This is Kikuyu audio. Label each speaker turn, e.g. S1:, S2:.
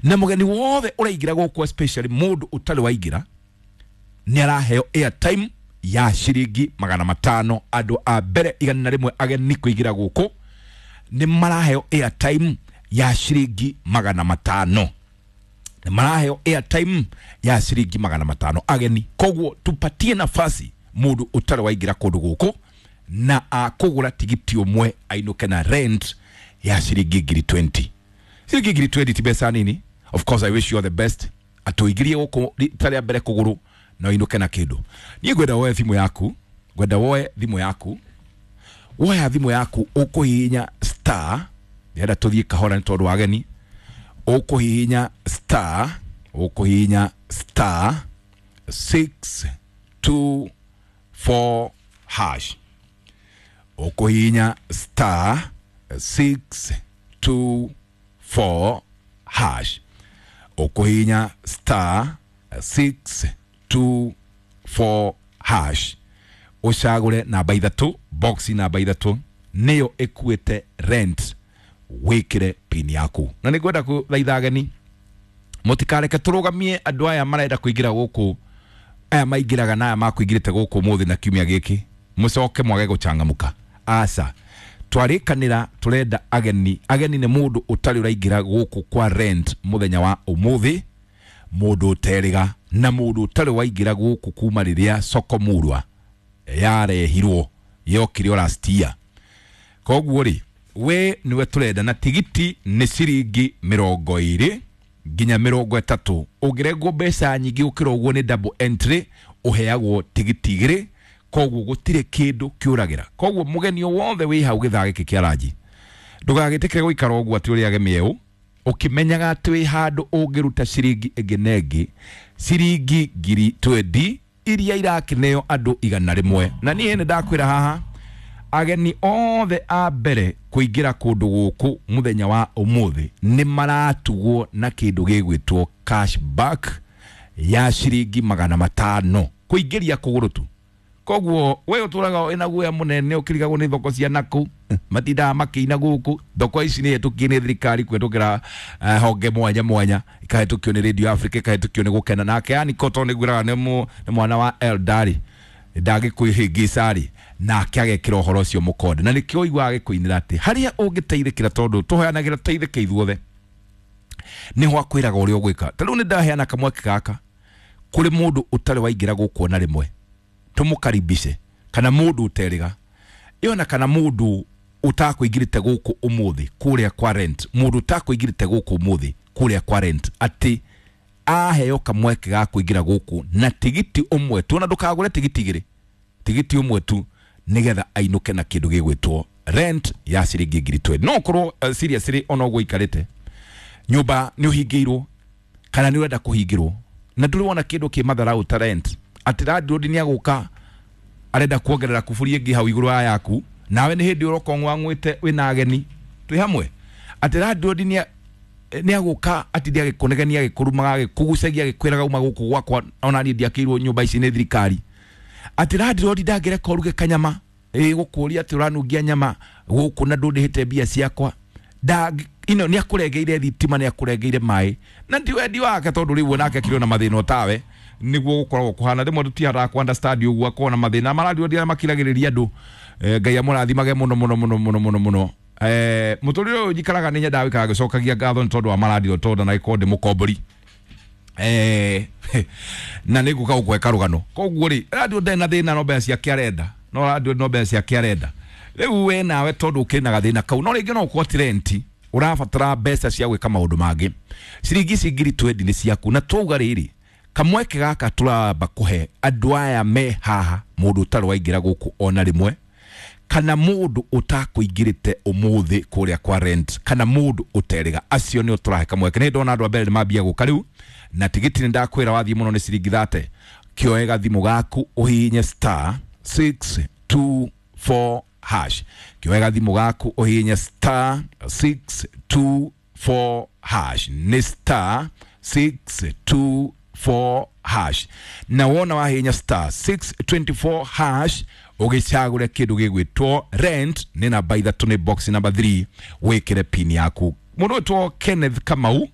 S1: Na mũgeni wothe ũraingĩra gũkũ, especially mũndũ ũtarĩ waingĩra, nĩ araheo airtime ya ciringi 500. Andũ a mbere 101 ageni kũingĩra gũkũ nĩ maraheo airtime ya ciringi 500, nĩ maraheo airtime ya ciringi 500 ageni. Koguo tupatie nafasi mũndũ ũtarĩ waingĩra kũndũ gũkũ na akũgũra tigiti ũmwe ainũke na rent ya ciringi 20,000. Ciringi 20,000 ti mbeca nini. Of course, I wish you all the best, atũingĩrie gũkũ rita rĩa mbere kũgũrũ na ũinũke na kĩndũ. Niĩ ngwenda woe thimũ yaku, ngwenda woe thimũ yaku. Woya thimũ yaku, ũkũhihinya star, ndĩrenda tũthiĩ kahora nĩ tondũ wa ageni, ũkũhihinya star, ũkũhihinya star 624 hash, ũkũhihinya star 624 hash, ũkũhihinya star 624 hash, ũcagũre namba 3, box namba 3 nĩyo ĩkuĩte rent, wĩkĩre pin yaku. Na nĩ ngwenda kũthaitha ageni mũtikareke tũrũgamie andũ aya marenda kũingĩra gũkũ, aya maingĩraga na aya makũingĩrĩte gũkũ ũmũthĩ na kiumia gĩkĩ, mũcoke mwage gũcangamũka. Aca, twarĩkanĩra tũrenda ageni. Ageni nĩ mũndũ ũtarĩ ũraingĩra gũkũ kwa rent mũthenya wa ũmũthĩ, mũndũ ũterĩga na mũndũ ũtarĩ waingĩra gũkũ kuma rĩrĩa soko murwa yarehirwo, yokire o last year. Koguo rĩ, we niwe tũrenda, na tigiti nĩ ciringi 20 nginya 30. Ũngĩrengwo mbeca nyingĩ gũkĩra ũguo nĩ double entry, ũheagwo tigiti 2. Koguo gũtirĩ kĩndũ kĩũragĩra. Koguo mũgeni o wothe wĩ hau gĩthaa gĩkĩ kĩa ranji, ndũgagĩtĩkĩre gũikara ũguo atĩ ũrĩage mĩeũ ũkĩmenyaga atĩ wĩ handũ ũngĩruta ciringi ĩngĩ na ĩngĩ, ciringi 20,000 iria irakĩneo andũ 101. Na niĩ nĩ ndakwĩra haha, ageni othe a mbere kũingĩra kũndũ gũkũ mũthenya wa ũmũthĩ nĩ maratugwo na kĩndũ gĩgwĩtwo cashback ya ciringi 500 kũingĩria kũgũrũ tu. Koguo we ũtũraga wĩna guoya mũnene ũkĩrigagwo nĩ thoko cia nakũu matindaga makĩina gũkũ. Thoko ici nĩ hetũkie nĩ thirikari kũhetũkĩra honge mwanya mwanya, ikahĩtũkio nĩ Radio Africa, ikahĩtũkio nĩ Gũkena nake yani koto nĩ ngwĩraga nĩ mwana wa Eldari ndangĩkwĩhĩngĩca-rĩ, nake agekĩra ũhoro ũcio mũkonde, na nĩkĩo ũiguaga agĩkũinĩra atĩ harĩa ũngĩteithĩkĩra, tondũ tũhoyanagĩra tũteithĩke ithuothe, nĩho akwĩraga ũrĩa ũgwĩka. Ta rĩu nĩ ndaheana kamweke gaka kũrĩ mũndũ ũtarĩ waingĩra gũkũ ona rĩmwe, tũmũkaribishe, kana mũndũ ũterĩga ĩyo, na kana mũndũ ũtakũingĩrĩte gũkũ ũmũthĩ kũrĩa kwa rent, mũndũ ũtakũingĩrĩte gũkũ ũmũthĩ kũrĩa kwa rent, atĩ aheo kamweke ga kũingĩra gũkũ na tigiti ũmwe tu, ona ndũkagũre tigiti 2, tigiti ũmwe tu, nĩgetha ainũke na kĩndũ gĩgwĩtwo rent ya ciringi 20,000. No ũkorwo seriously ona ũguo ikarĩte nyũmba nĩ ũhingĩirwo kana nĩ ũrenda kũhingĩrwo na ndũrĩ wona kĩndũ kĩ matharau ta rent, atĩ landlord nĩ agũka arenda kuongerera kuburi ĩngĩ hau igũrũ wa yaku, nawe nĩ hĩndĩ ũroka ũng'wang'wĩte wĩna ageni twĩ hamwe, atĩ landlord nĩ agũka atinde agĩkũnegenia, agĩkũrumaga, agĩkũgucagia, agĩkwĩraga uma gũkũ gwakwa, ona niĩ ndiakĩirwo nyũmba ici nĩ thirikari, atĩ landlord ndangĩreka ũruge kanyama, ĩgũkũria atĩ ũranungia nyama gũkũ na ndũndĩhĩte mbia ciakwa, ino nĩ akũrengeire thitima, nĩ akũrengeire maĩ, na ti wendi wake tondũ rĩu onake akĩrĩ na mathĩna otawe nĩguo gũkoragwo kũhana. Rĩmwe tũtihotaga kũ understand ũguo, akorwo na mathĩna marandio arĩa makiragĩrĩria andũ. Ngai amũrathimage mũno mũno mũno mũno mũno mũno. Mũtũrĩre ũyũ njikaraga nĩ nyendaga gũikara ngĩcokagia ngatho nĩ tondũ wa marandio, tondũ na gĩkorwo ndĩ mũkombori na nĩ ngũka gũkũhe karũgano. Koguo rĩ, radio ndarĩ na thĩna, no mbeca ciake arenda, no radio no mbeca ciake arenda. Rĩu we nawe tondũ ũkĩrĩ na gathĩna kau, no rĩngĩ no ũkorwo ti rent ũrabatara mbeca cia gwĩka maũndũ mangĩ, ciringi ici 20,000 nĩ ciaku. Na twauga rĩrĩ, kamweke gaka tũramba kũhe andũ aya me haha, mũndũ ũtarĩ waingĩra gũkũ ona rĩmwe, kana mũndũ ũtakũingĩrĩte ũmũthĩ kũrĩa kwa rent, kana mũndũ ũterĩga, acio nĩo tũrahe kamweke. Nĩ ndona andũ a mbere nĩ mambia gũka rĩu, na tigiti nĩ ndakwĩra wathiĩ mũno nĩ ciringi 30. Kĩoe gathimũ gaku ũhihinye star 624 hash, kĩoe gathimũ gaku ũhihinye star 624 hash, nĩ star 624 hash, na wona wahihinya star 624 hash ũgĩcagũre kĩndũ gĩgwĩtwo rent, nĩ namba 3, nĩ box number 3, wĩkĩre pin yaku. Mũndũ wĩtwo Kenneth Kamau.